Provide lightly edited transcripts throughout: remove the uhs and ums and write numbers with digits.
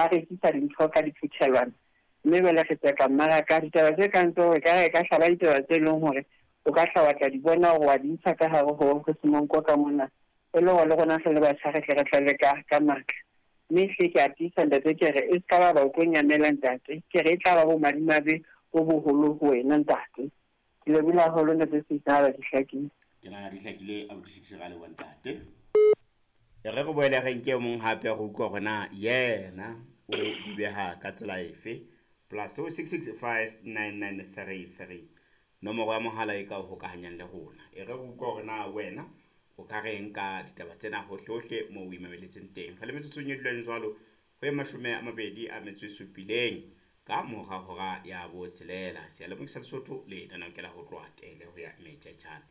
Ba rekisa dintho ka diphuthelwana mme jwale re tseka mmaraka. Ditaba tse kang tseo re ka re ka hlaba ditaba tse leng hore o ka hla wa tla di bona hore wa di ntsha ka hare ho ho Semonko ka mona e le hore le rona re le batjha re tle re tlale ka ka matla. Mme ehlile ke a tiisa ntate ke re e se ka ba ba o tlo nyamela ntate. Ke re e tla ba bomadimabe bo boholo ho wena ntate. Ke lebohile haholo ntate Seitshaba di hlakile. Ke nahana di hlakile abuti Shikishe ra leboha ntate. E re re boele re nke mong hape re utlwa hore na yena o di beha ka tsela efe. Plus 266 59933 nomoro ya mohala e ka o hokahanyang le rona. E re re utlwa hore na wena o ka reng ka ditaba tsena hohle-hohle moo o imameletseng teng. Re le metsotsong e dulang jwalo ho e 27 ka mora hora ya botshelela. Seyalemoya sa Lesotho le lenaneo ke la ho tloha tele ho ya metjhetjhane.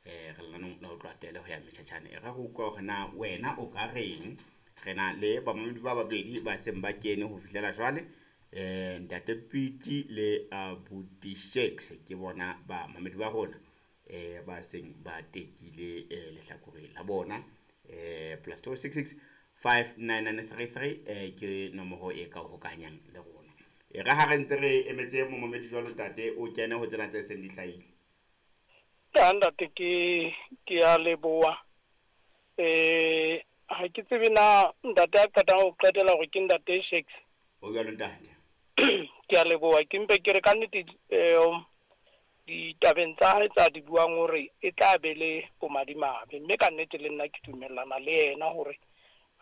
Re lenaneong la ho tloha tele ho ya metjhetjhane. E re re utlwa hore na wena o ka reng. Re na le bamamedi ba babedi ba seng ba kene ho fihlela jwale. Ntate Piti le abuti Shakes ke bona bamamedi ba rona ba seng ba tekile lehlakore la bona. Plus 266 59933 ke nomoro e ka o hokahanyang le rona. E re ha re ntse re emetse momamedi jwalo ntate o kene ho tsena tse seng di hlahile. Ya ntate, ke a leboha. Ha ke tsebe na ntate a qetang ho qetela hore ke ntate Shakes. O jwalo ntate. Ke a leboha, ke mpe ke re ka nnete ditabeng tsa hae tsa di buang hore e tla be le bomadimabe, mme ka nnete le nna ke dumellana le yena hore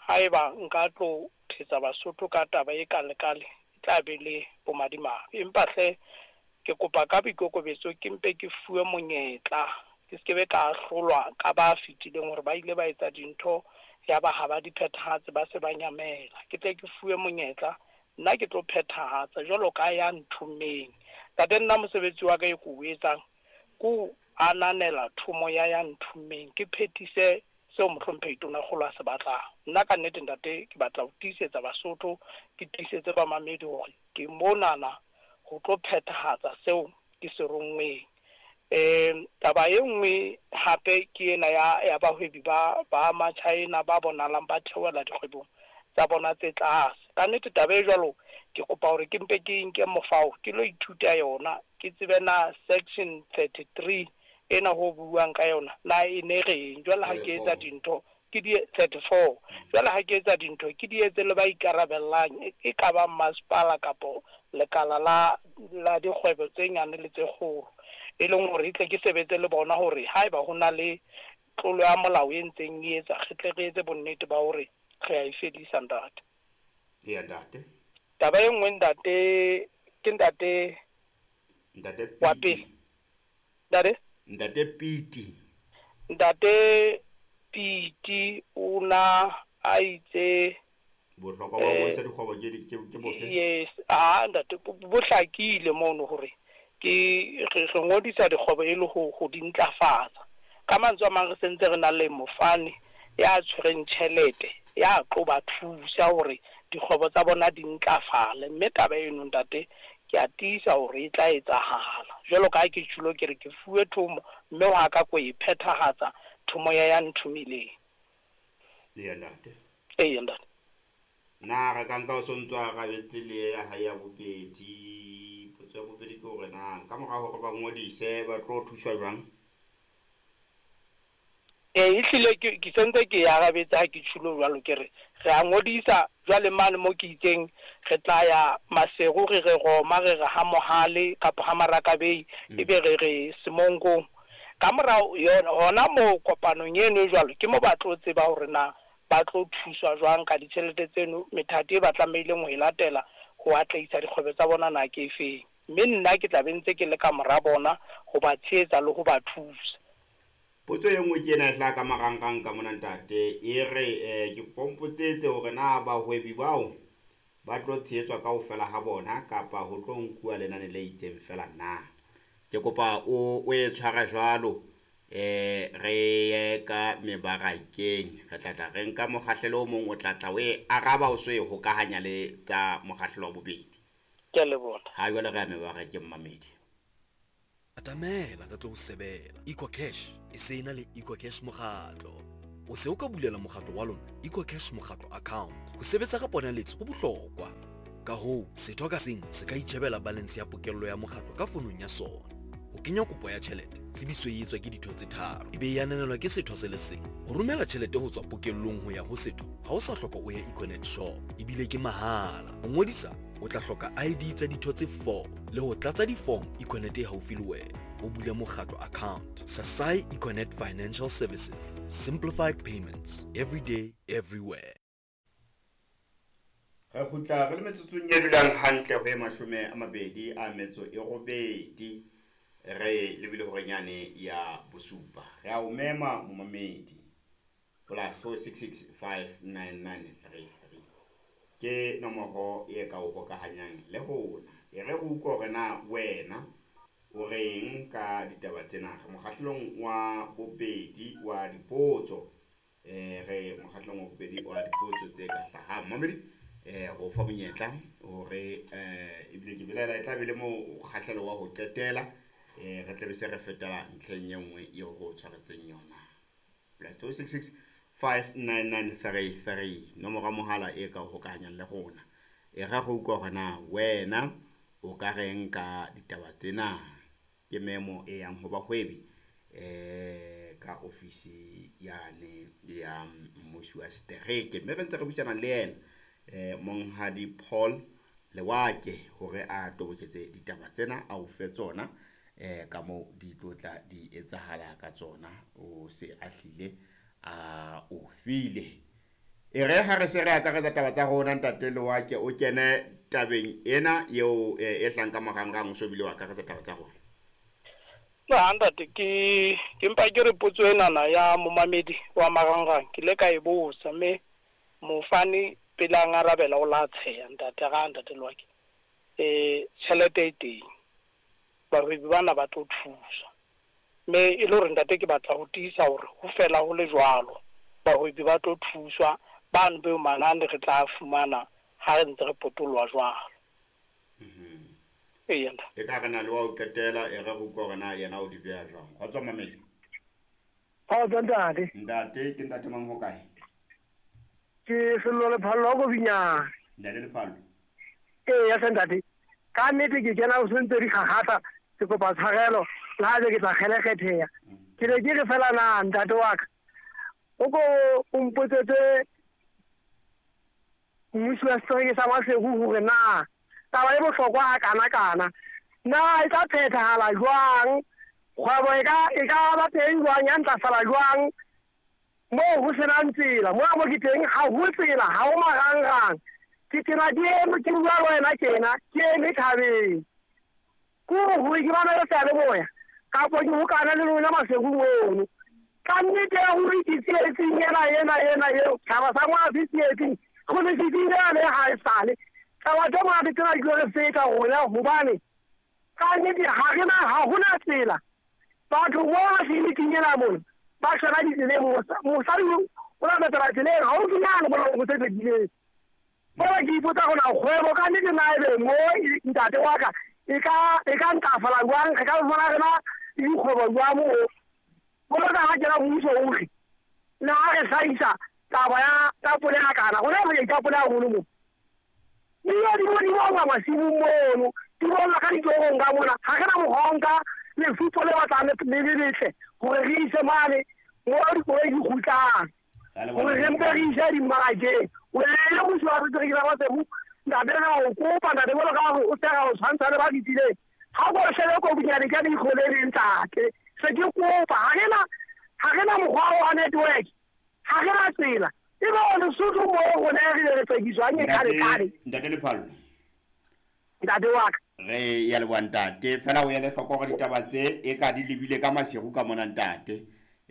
haeba nka tlo thetsa Basotho ka taba e kale-kale e tla be le bomadimabe. Empa hle ke kopa ka boikokobetso ke mpe ke fuwe monyetla, ke se be ka ahlolwa ka ba fetileng hore ba ile ba etsa dintho ya ba ha ba di phethahatse, ba se ba nyamela. Ke tle ke fuwe monyetla, nna ke tlo phethahatsa jwalo ka ya nthomeng. Ntate, nna mosebetsi wa ka e ko o etsang ke ho ananela thomo ya ya nthomeng, ke phethise seo mohlomphehi Tonakgolo a se batlang. Nna ka nnete ntate ke batla ho tiisetsa Basotho, ke tiisetse bamamedi hore ke monana ho tlo phethahatsa seo ke se ronngweng. Taba e nngwe hape ke ena ya bahwebi ba Machina ba bonahalang ba theohela dikgwebong tsa bona tse tlase. Ka nnete taba e jwalo ke kopa hore ke mpe ke nke mofao ke lo ithuta yona, ke tsebe na section 33 ena ho buang ka yona na e ne reng. Jwale ha ke etsa dintho ke di 34, jwale ha ke etsa dintho ke di etse le ba ikarabellang, e ka ba masepala kapo lekala la dikgwebo tse nyane le tse kgolo, e leng hore e tle ke sebetse le bona hore haeba ho na le tlolo ya molao e ntseng e etsa, re tle re etse bonnete ba hore re a e fedisa ntate. Eya ntate. Taba e nngwe ntate ke ntate Ntate wa Piti. Pele ntate. Ntate Piti. Ntate Piti o na a itse Bohlokwa ba ho ngodisa dikgwebo ke bofe? Yes, ah ntate, bo hlakile mono hore ke re ngodisa dikgwebo e le ho di ntlafatsa. Ka mantswe a mang, re sentse re na le mofani ya tshwereng tjhelete ya tlo ba thusa hore dikgwebo tsa bona di ntlafale, mme taba eno ntate ke a tiisa hore e tla etsahala. Jwalo ka ha ke tjhulo ke re ke fuwe thomo, mme wa ka ko e phethahatsa thomo ya nthomileng. Eya ntate. Eya ntate. Na re ka nka o sontso arabetse le ya hae ya bobedi? Potso ya bobedi ke hore na ka mora hore ba ngodise ba tlo thuswa jwang? Ee, ehlile ke sentse ke e arabetse ha ke tjhulo jwalo, ke re re a ngodisa jwale mane mo ke itseng re tla ya Maseru, re re Roma, re re ha Mohale kapa ha Marakabei, ebe re re Semonkong. Ka morao yona hona moo kopanong eno e jwalo ke mo ba tlo tseba hore na ba tlo thuswa jwang ka ditjhelete tseno, methati e ba tlamehileng ho e latela ho atlehisa dikgwebo tsa bona na ke efeng. Mme nna ke tla be ntse ke le ka mora bona ho ba tshehetsa le ho ba thusa. Potso e nngwe ke ena e hlaha ka marangrang ka mona ntate, e re ke kopa o mpotsetse hore na bahwebi bao ba tlo tshehetswa kaofela ha bona kapa ho tlo nkuwa lenane le itseng fela na. Ke kopa o e tshware jwalo, re ye ka mebarakeng, re tla tla re nka mokgahlelo o mong, o tla tla o e araba o so e hokahanya le tsa mokgahlelo wa bobedi. Ke a leboha. Ha jwale re ya mebarakeng mamedi. Atamela re tlo o sebela. EcoCash e se na le EcoCash mokgatlo. O se o ka bulela mokgatlo wa lona EcoCash mokgatlo account. Ho sebetsa ka ponaletso ho bohlokwa. Ka hoo, setho ka seng se ka itjhebela balance ya pokello ya mokgatlo ka fonong ya sona. Ho kenya kopo ya tjhelete, tsebiso e etswa ke ditho tse tharo, e be e ananelwa ke setho se le seng. Ho romela tjhelete ho tswa pokellong ho ya ho setho, ha o sa hloka o ye Econet shop, ebile ke mahala. Ho ngodisa, o tla hloka ID tsa ditho tse 4 le ho tlatsa di-form Econet e haufi le wena. Ho bula mokgatlo account. Sasai Econet Financial Services. Simplified payments. Every day, everywhere. Re kgutla re le metsotsong e dulang hantle ho e 28 re lebile horenyane ya bosupa. Re a o mema momamedi +466 59933 ke nomoro e ka o hokahanyang le rona. E re re utlwe hore na wena o reng ka ditaba tsena. Re mokgahlelong wa bobedi wa dipotso, re mokgahlelong wa bobedi wa dipotso tse ka hlahang. Mamedi, re o fa monyetla hore ebile ke belaela e tla be le mokgahlelo wa ho qetela, re tla be se re fetela ntlheng e nngwe eo re o tshwaretseng yona. +266 59933 nomoro ya mohala e ka o hokahanyang le rona. E re re utlwe hore na wena o ka reng ka ditaba tsena. Ke memo e yang ho bahwebi ka ofisi yane ya mmusi wa setereke, mme re ntse re buisana le yena monghadi Paul Lewake hore a toboketse ditaba tsena, a o fe tsona ka moo di tlo tla di etsahala ka tsona. O se a hlile a o file. E re ha re se re akaretsa taba tsa rona, ntate Lewake, o kene tabeng ena eo e hlang ka marangrang, o so bile wa akaretsa taba tsa rona. Na ntate, ke mpa ke re potso enana ya momamedi wa marangrang ke le ka e botsa, mme mofani pele a ngarabela o la tsheya ntate ga ntate Lewake. Tjhelete e teng, bahwebi bana ba tlo thuswa, mme e le hore ntate ke batla ho tiisa hore ho fela ho le jwalo, bahwebi ba tlo thuswa bano beo manane re tla fumana ha re ntse re potoloha jwalo. Eya ntate. E ka re na le wa ho qetela, e re re utlwe hore na yena o di beha jwang. Kgotso mamedi. Kgotso ntate. Ntate, ke ntate mang ho kae? Ke Sello Lephallo wa Kobinyane. Ntate Lephallo. Eya hle ntate. Ka nnete ke kena o sentse di kgakgatha, ke kopa tshwarelo le ha ke tla kgelekgetheha. Ke ne ke re fela na ntate wa ka, o ko o mpotsetse mmusi wa setereke sa Maseru hore na taba e bohlokwa ha kana-kana na e tla phethahala jwang, kgwebo e ka ba teng jwang, ya ntlafala jwang moo ho senang tsela. Mona mo ke teng ha ho tsela, ha ho marangrang. Ke tena ke eme ke bua le wena tjena, ke eme thabeng. Ke hore ke bana le seyalemoya kapo ke hokana le lona Maseru mono. Ka nnete ya hore ke tsietsing ena ena ena eo, tjhaba sa ngwana se tsietsing, go le fetile yane ha e sale. Taba tse monate tsena di tlo re feta rona hobane ka nnete ha re na, ha hona tsela. Batho bona tleliniking ena mona ba shwela ditseleng, mosadi o la latela tseleng haufinyane mona ho se fetileng. Jwale ke ipotsa hore na kgwebo ka nnete na ebe mo ntate wa ka e ka ntlafala jwang, re ka bona re na le dikgwebo jwang moo. Jwalo ka ha kena mmuso o re le ha re hlahisa taba ya tapole ya kana, hona re ditapole haholo moo. Dijo di bo di bonwa masimong mono, di bonwa ka ditorong ka mona. Ha re na mokgwa wa ho nka lefupo le batlang le le letle hore re ise mane mo dikoloi di kgutlang, hore re mpe re ise dimmarakeng. O le mmuso wa setereke sa Maseru, ntate re a o kopa ntate, jwalo ka hore o se ra o tshwantsha le ba fetileng. Ha o shebe Kobinyane ka leihlo le leng ntate, se ke kopa ha re na mokgwa wa network, ha re na tsela. E be Lesotho mo rona re le re tsekiswang e kgale-kgale. Ntate Lephallo. Ntate wa ka. Re ya leboha ntate, fela o ele hloko hore ditaba tse e ka di lebile ka Maseru ka mona ntate.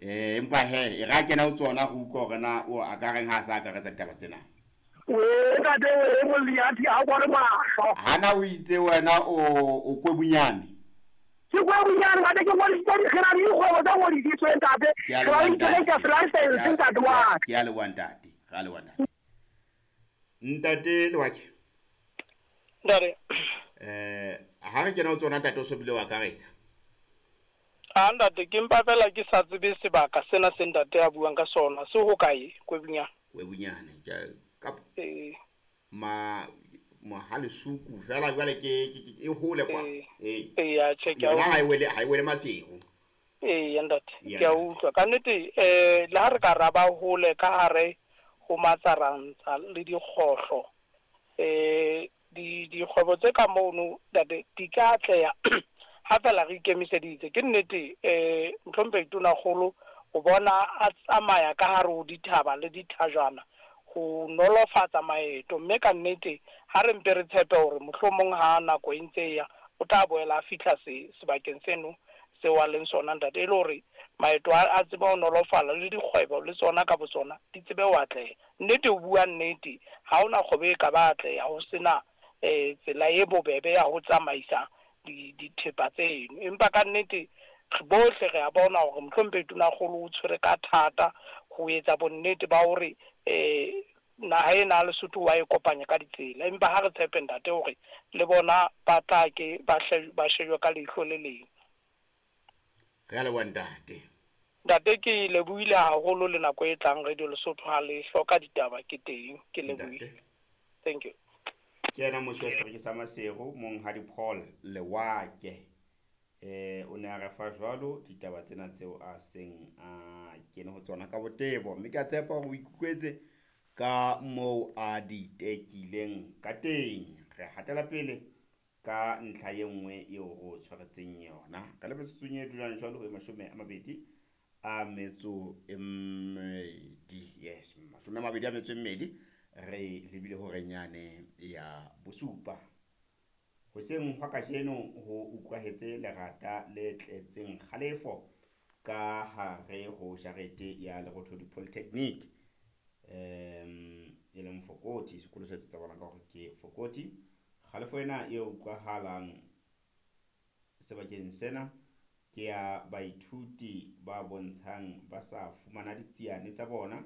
Empa he, e re a kena ho tsona re utlwe hore na o a ka reng ha a sa akaretsa ditaba tsena. We ntate we Moliati ha o bone mahlo. Hana o itse wena o Kwebunyane. Ke Kwebunyane ntate, ke ngodisitse re na le dikgwebo tse ngodisitsweng ntate. Ke a Re ba leboha le ntate. license ntate wa ka. Ke a leboha ntate. Re a leboha ntate. Ntate Lewake. Ntate. Ha re kena ho tsona ntate o so bile wa akaresa. A ntate, ke mpa fela ke sa tsebe sebaka sena se ntate a buang ka sona. Se hokae Kwebunyane? Kwebunyane ka ma Mohalesuku fela jwale ke e hole kwa. Ee. Ee, tjhe, ke a ha e wele Maseru. Ee, ntate, ke a utlwa. Ka nnete le ha re ka ra ba hole ka hare ho matsarantsa le dikgohlo, dikgwebo tse ka mono ntate di ka atleha ha fela re ikemiseditse. Ke nnete Mohlomphehi Tonakgolo o bona a tsamaya ka hare ho dithaba le dithajana ho nolofatsa maeto, mme ka nnete ha re mpe re tshepe hore mohlomong ha nako e ntse e ya o tla boela a fihla sebakeng seno seo a leng sona ntate, e le hore maeto a tsebe ho nolofala le dikgwebo le tsona ka botsona di tsebe ho atleha. Nnete, ho bua nnete, ha hona kgwebo e ka ba atleha ho sena tsela e bobebe ya ho tsamaisa dithepa tseno. Empa ka nnete bohle re a bona hore Mohlomphehi Tonakgolo o tshwere ka thata ho etsa bonnete ba hore naha ena ya Lesotho wa e kopanya ka ditsela. Empa ha re tshepe ntate hore le bona ba tla ke ba shejwe ka leihlo le leng. Re a leboha ntate. Ntate, ke lebohile haholo le nako e tlang Radio Lesotho ha le hloka ditaba ke teng. Ke lebohile. Thank you. Ke yena mmusi wa setereke sa Maseru, Monghadi Paul Lewake. O ne a re fa jwalo ditaba tsena tseo a seng a kene ho tsona ka botebo, mme ke a tshepa hore o ikutlwetse ka moo a di tekileng ka teng. Re hatela pele ka ntlha e nngwe eo re o tshwaretseng yona ka le metsotsong e dulang jwalo ho 22. Yes, 22 re lebile horeng yane ya bosupa. Hoseng hwa kajeno ho utlwahetse lerata le tletseng kgalefo ka hare ho jarete ya Lerothodi Polytechnic, e leng Fokoti, sekolo se tsabalang ka hore ke Fokoti. Kgalefo ena e utlwahalang sebakeng sena ke ya baithuti ba bontshang ba sa fumana ditsiane tsa bona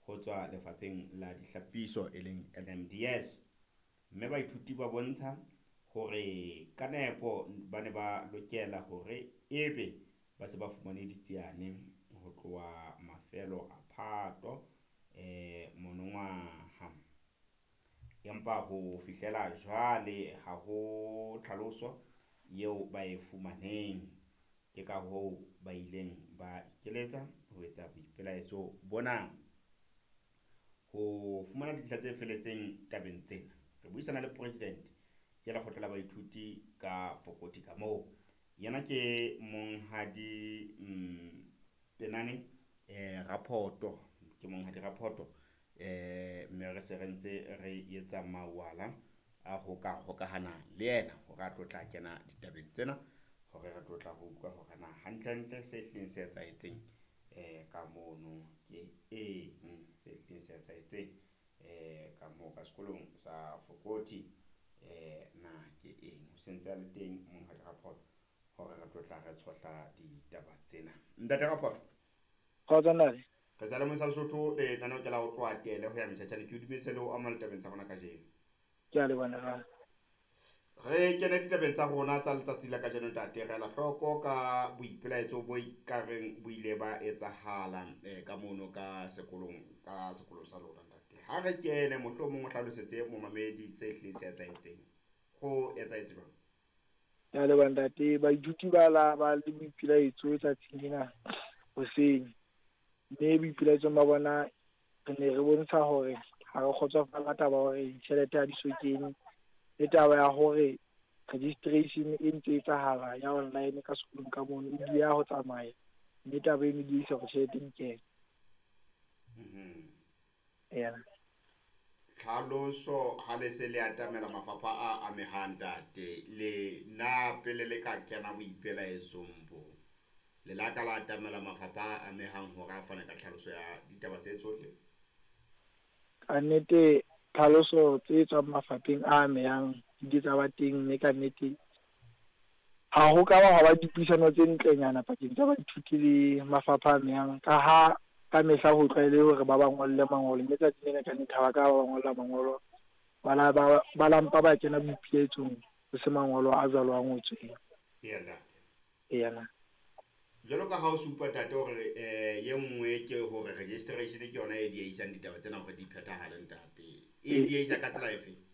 ho tswa lefapheng la dihlapiso e leng NMDS. Mme baithuti ba bontsha hore ka nepo ba ne ba lokela hore ebe ba se ba fumane ditsiane ho tloha mafelo a Phato monongwaha. Empa ho fihlela jwale ha ho tlhaloso eo ba e fumaneng. Ke ka hoo ba ileng ba ikeletsa ho etsa boipelaetso bona. Ho fumana dintlha tse feletseng tabeng tsena, re buisana le president ya lekgotla la baithuti ka Fokoti ka moo. Yena ke Monghadi Penane Raphoto, ke Monghadi Raphoto. Mme re se re ntse re etsa mawala a ho ka hokahana le yena hore a tlo tla kena ditabeng tsena, hore re tlo tla ho utlwa hore na hantlentle se hlileng se etsahetseng ka mono ke eng, se hlileng se etsahetseng ka moo ka sekolong sa Fokoti na ke eng. O sentse a le teng Monghadi Raphoto hore re tlo tla re tshohla ditaba tsena. Ntate Raphoto. Kgotso ntate. Re sa le Mosa Lesotho le lenaneo ke la ho tloha tele ho ya metjhatjhane. Ke o dumedise le ho amohela ditabeng tsa rona kajeno. Ke a leboha ntate. Re kene ditabeng tsa rona tsa letsatsi la kajeno ntate. Re ela hloko ka boipelaetso bo ikareng bo ile ba etsahala ka mono ka sekolong sa lona ntate. Ha re kene mohlomong o hlalosetse momamedi se hlileng se etsahetseng. Ho etsahetse jwang? Ke a leboha ntate. Baithuti ba la ba le boipelaetso tsatsing lena hoseng. Mme boipelaetsong ba bona re ne re bontsha hore ha re kgotsofala taba hore ditjhelete ha di so kene, le taba ya hore registration e ntse etsahala ya online ka sekolong ka mono e dieha ho tsamaya, mme taba eno e diehisa hore tjhelete e kene. Tlhaloso ha le se le atamela mafapha a amehang ntate, le na pele le ka kena boipelaetsong bo le la ka la atamela mafapha a amehang hore a fane ka tlhaloso ya ditaba tse tsohle? Ka nnete tlhaloso tse tswang mafapheng a amehang di tsa ba teng, mme ka nnete ha ho ka ba hwa ba dipuisano tse ntlenyana pakeng tsa baithuti le mafapha a amehang, ka ha ka mehla ho tlwaele hore ba ba ngolle mangolo, mme tsatsing lena ka nnete ha ba ka ba ngolla mangolo, ba lampa ba kena boipelaetsong ho se mangolo a jwalo a ngotsweng. Ena. Jwalo ka ha o supa ntate hore ye nngwe ke hore registration ke yona e diehisang ditaba tsena hore di phethahale ntate. E diehisa ka tsela efe?